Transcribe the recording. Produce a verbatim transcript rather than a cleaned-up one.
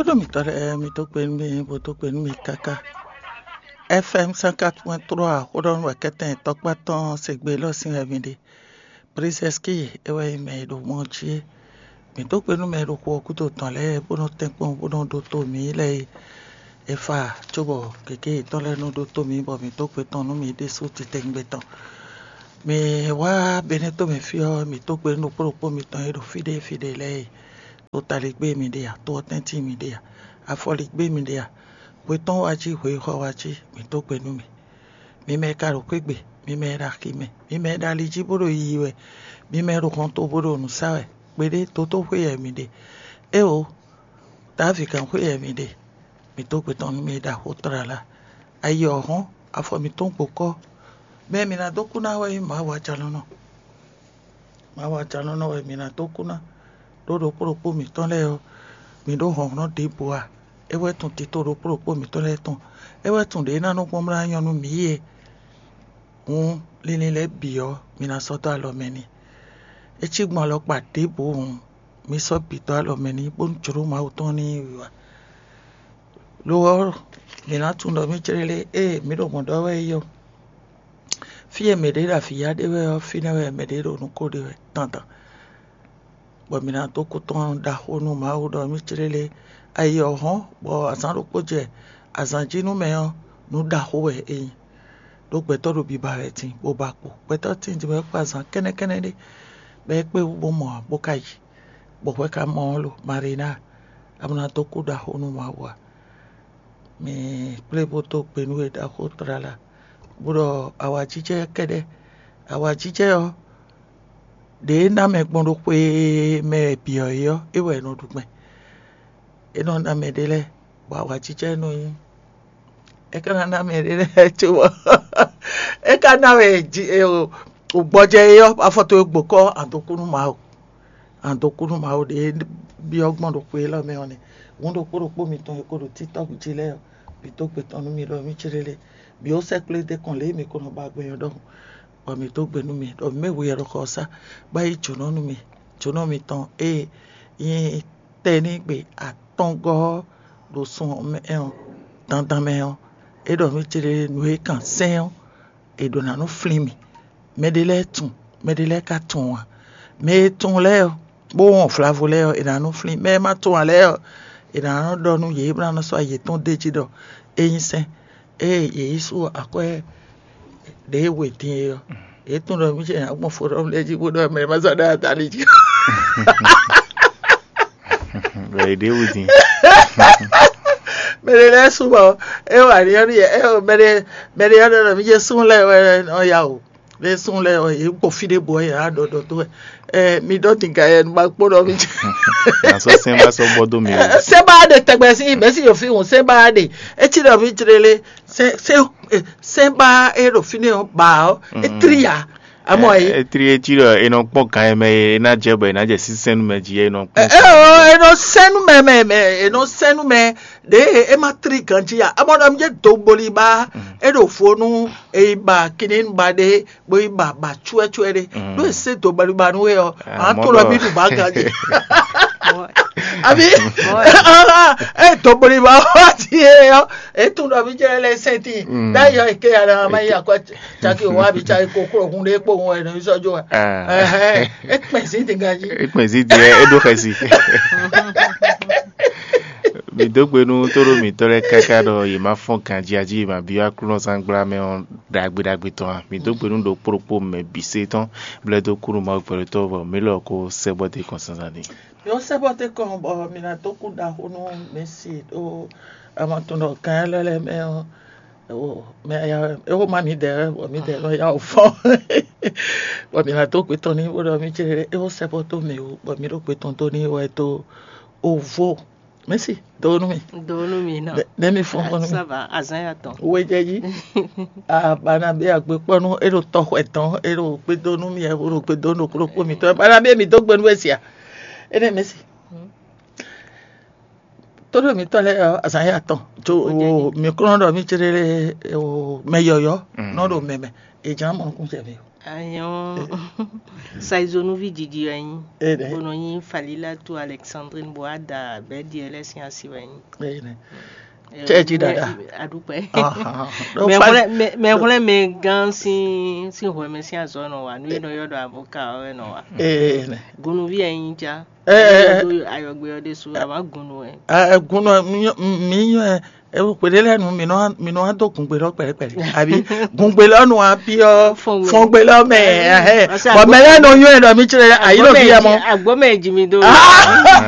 Ɖo mǐtɔn lɛ́ɛ, mi dó gbe nú mì, bó dó gbe nú mì káká. F M cent quatre point trois, xó ɖɔ nú wɛ kɛ́tɛn tɔkpá tɔn se gbe lɔ sín wɛ mi ɖe. Brizɛski é wɛ nyí mɛ e ɖo mɔ jí é. Mǐ dó gbe nú mɛ e ɖo xu ɔ́ gúdo tɔn lɛ́ɛ, bó nɔ tɛ́nkpɔ́n, bó nɔ ɖótó mǐ lɛ́ɛ é. E fa cóbɔ gěgé yětɔn lɛ́ɛ nɔ ɖótó mǐ, bɔ mǐ dó gbe tɔn nú mǐ ɖésú titewungbe tɔn. Mǐ wá Benɛ́to mɛ fí ɔ́, mǐ dó gbe nú ɖokpó ɖokpó mitɔn e ɖo fí ɖé fí ɖé lɛ́ɛ é. To taligbé mi ɖe a, to ɔ́tɛ́ntin mi ɖe a, afɔligbé mi ɖe a, hwe tɔn wá jí, hwe xɔ wá jí, mǐ dó gbe nú mi. Mi mɛ e ka ɖo xwé gbe, mi mɛ e ɖo axi mɛ, mi mɛ e ɖo ali jí bó ɖo yiyi wɛ, mi mɛ e ɖo hɔnto bó ɖo nǔ sa wɛ, kpeɖé dotóxwé wɛ mi ɖe. Éeǒ, Davídgán xwé wɛ mi ɖe. Mǐ dó gbe tɔn nú mi e ɖo axó tlala. Ayi ɔ́ hɔ́n, afɔ mǐtɔn gbo kɔ́. Mɛ e mǐ ná dó kú ná wɛ nyí Mawu ajɔlɔ́nɔ. Mawu ajɔlɔ́nɔ wɛ mǐ ná dó kú ná, ɖó ɖokpó ɖokpó mǐtɔn lɛ́ɛ ɔ́, mǐ ɖó hlɔ̌nhlɔ́n ɖěbǔ ǎ. É wɛ tunwun tito ɖokpó ɖokpó mǐtɔn lɛ́ɛ tɔn. É wɛ tunwun ɖě ná nɔ gbɔn bó ná nyɔ́ nú mǐ é. Hǔn, linlin lɛ́ɛ bǐ ɔ́, mi ná sɔ́ dó alɔ mɛ n'i. É cí gbɔn alɔkpa ɖěbǔ hǔn, mi sɔ́ bǐ dó alɔ mɛ n'i, bónú jlǒ Mawu tɔn ní yi wiwa. Lo ɔ́, mǐ ná tunwun ɖɔ mǐ jlé lé, ée mǐ ɖo mɔ̌ ɖɔ wɛ é yi ɔ́. Fí e mɛɖé ɖo avǐ ya ɖe wɛ ɔ́, fínɛ́ wɛ mɛɖé ɖo nǔ ko ɖe wɛ dandan. Bɔ mǐ ná dó kú tɔn ɖaxó nú Mawu ɖɔ mǐ jlé lé. Ayi ɔ́ hɔ́n, bɔ azǎn ɖokpó jɛ azǎn jí nú mɛ ɔ́, nǔ ɖaxó wɛ é nyí. Ɖó gbɛtɔ́ ɖo biba wɛ din, bó ba kpo. Gbɛtɔ́ tíin din bɔ é kpo azǎn kɛ́nɛ́kɛ́nɛ́ ɖé, bɔ é kpé wú bó mɔ ǎ, bó ka yi. Bɔ hwɛ ka mɔ ɔ́ lo, Marina, a ma ná dó kú ɖaxó nú Mawu ǎ. Mi kplé bó dó gbe nú we ɖaxó tlala, bó ɖɔ awǎjijɛ kɛ́ɖɛ́. Awǎjijɛ ɔ́, ɖě é ná mɛ gbɔn ɖo xwe mɛ bǐ ɔ́ é ɔ́, é wɛ è nɔ ɖu gbɛn. É nɔ ná mɛ ɖé lɛ́ɛ, bɔ awǎjijɛ nɔ nyí. É ka ná ná mɛ ɖé lɛ́ɛ cóbɔ é ka ná wɛ gbɔjɛ é ɔ́, afɔ towe gbo kɔ́ adokúnú Mawu. Adokúnú Mawu ɖě byɔ́ gbɔn ɖo xwe élɔ́ mɛ ɔ́ nɛ́. Hǔn ɖokpó ɖokpó mitɔn e ko ɖo TikTok jí lɛ́ɛ ɔ́, bǐ dó gbe tɔn nú mì ɖɔ mì céɖélé, bǐ ó sɛ́ kplé dó kɔn lě e mi ko nɔ ba gbɛn ɔ́ ɖɔhun, bɔ mǐ dó gbe nú mi ɖɔ mǐ mɛ we wɛ ɖo xɔ ɔ́ sá, bó yi jǒnɔ nú mi. Jǒnɔ mitɔn ée nyí tɛnígbe atɔngɔ́ ɔ́ ɖo sun ɔ́ mɛ ɔ́, dandan mɛ ɔ́, é ɖɔ mì céɖélé nǔ e kan sɛ́n ɔ́, è ɖǒ ná nɔ flín mì. Mɛɖé lɛ́ɛ tunwun, mɛɖé lɛ́ɛ ka tunwun ǎ. Mɛ e tunwun lɛ́ɛ ɔ́, bó wɔn vlavo lɛ́ɛ ɔ́, è nǎ nɔ flín. Mɛ e ma tunwun ǎ lɛ́ɛ ɔ́, è nǎ nɔ ɖɔ nú yě, bó ná nɔ sɔ́ yětɔn d'é jí ɖɔ é nyí sɛ́n. Ée yě yi sú akwɛ́ ɖě e we din é ɔ́, yě tunwun ɖɔ mì ce ná gbɔn fó ɖɔ mì lɛ́ɛ jí bó ɖɔ mɛ e ma sɔ́ ɖɔ atali jí. Bɔ è ɖě wú din. Mɛɖé lɛ́ɛ sú bɔ é wà ní ɔ́ nú yɛ, é mɛɖé mɛɖé ɔ́ ɖɔ ɖɔ mì ce sún lɛ́ɛ wɛ nɔ ya o. Lé sún lɛ́ɛ ɔ́, yě gbɔ fí ɖé bɔ yě á ɖɔ ɖɔ dó wɛ. Ɛ, mi ɖɔ dinga yɛ nu ma kpó ɖɔ mi. Nasɔ sɛn ba sɔ gbɔ dó mi o. Sɛn ba ɖe tɛgbɛ sí mɛ sí yɔ fi hùn sɛn ba ɖe. Etí ɖɔ mi jlé lé. Sɛn sɛn sɛn ba e ɖo fi ne ɔ ba ɔ etri ya. Amɔ yi. Etri etí ɖɔ enɔ kpɔn gan yɛ mɛ e ná jɛ bɔ e ná jɛ sísɛn nu mɛ jí enɔ kpɔn. Ɛ ɔ enɔ sɛn nu mɛ mɛ mɛ enɔ sɛn nu mɛ ɖe e ma tri ganji ya. Amɔ ɖɔ mi jɛ do gboli ba e ɖo fo nu e yi ba kini nu ba ɖe. Bó yi ba ba cuɛcuɛ ɖé. Ɖó e sé dǒ baɖiba nú we ɔ́, a to lɔ bí ɖu ba ganji. Abi e dǒ baɖiba ɔ́ ti é ɔ́, e tún ɖɔ bí jɛ lɛ sɛn tín. Ɖ'ayɔ e ké ya ɖa ma yi akɔ caki o wa bi caki ko kúrò hun ɖé kpó hun ɛ nɔ sɔ́ jó wa. E kpɛn sí ti ganji. E kpɛn sí ti ɛ e ɖó xɛsi. Mi dó gbe nú tóɖó mǐtɔn lɛ́ɛ káká ɖɔ yě má fɔ́n ganjí jí yě má byɔ́ Aklúnɔzángbla mɛ ɔ́ ɖagbe ɖagbe tɔn ǎ. Mi dó gbe nú ɖokpó ɖokpó mɛ bǐ sé tɔn, blɛ́ dó kú nú Mawu gbɛɖotɔ́ bɔ mǐ lɔ ko sɛ́ bɔ dó kɔn zǎnzǎn din. Mi ɔ́ sɛ́ bɔ dó kɔn bɔ mi ná dó kú ɖaxó nú Mɛsi ɖó ama tɔn ɖɔ gǎn élɔ́ lɛ́ɛ mɛ ɔ́, mɛ é xó má mi ɖɛ bɔ mi ɖɛ nɔ ya wǔ fɔ́n. Bɔ mi ná dó gbe tɔn n'i bó ɖɔ mi ce é xó sɛ́ bɔ dó mì wú bɔ mi ɖó gbe tɔn dó n'i wɛ dó ovo. Mɛsi, do nú mi. Do nú mi nɔ. Nɛ mi fɔn fɔn nú mi. Ça va, azan ya tɔn. Wejɛji. Abana be agbe kpɔnu e ɖo tɔxwɛ tɔn e ɖo gbedo nú mi e ɖo gbedo nú kplokplo mi tɔn. Bana be mi do gbe nú esia. Ene mɛsi. Todo mi tɔ lɛ azan ya tɔn. Jo mi kɔnɔ dɔ mi chere o mɛ yɔyɔ nɔ ɖo mɛmɛ. Ejan mɔ nukun cɛ mi. Anyɔ saizonuvi jiji wɛ nyi. Ee, nɛ. Bó nɔ nyi Falilatu Alexandrine Boada bɛ́ diɛ lɛ́ sín asi wɛ nyi. Ee, nɛ. Cɛ ji dada. Aɖukpɛ. Ahan. Donc, Mɛ fa- xwlɛ mɛ mɛ xwlɛ mɛ gán sín sín hwɛmɛ sín azɔ nɔ wa nu e nɔ ylɔ́ ɖɔ avoka ɔ́ wɛ nɔ wa. Ee, nɛ. Gunuvi wɛ nyi ja. Ee. Do ayɔgbe ɔ́ ɖésú a ma gunu wɛ. Ɛ, gun nɔ mi nyɔ ɛ, xwe ɖé lɛ́ɛ nu mi nɔ mi nɔ wá dó gungbe lɔ kpɛɖɛkpɛɖɛ àbí gungbe lɔ nu wá bí ɔ Fɔngbe. Fɔngbe lɔ mɛ ɛhɛ Ɔsɛ bɔn agbo- mɛ lɛ nɔ nyɔ ɛ ɖɔ mi tsirɛ ayi lɔ bí ɛ mɔ. Agbɔmɛ ji mi do. Ah!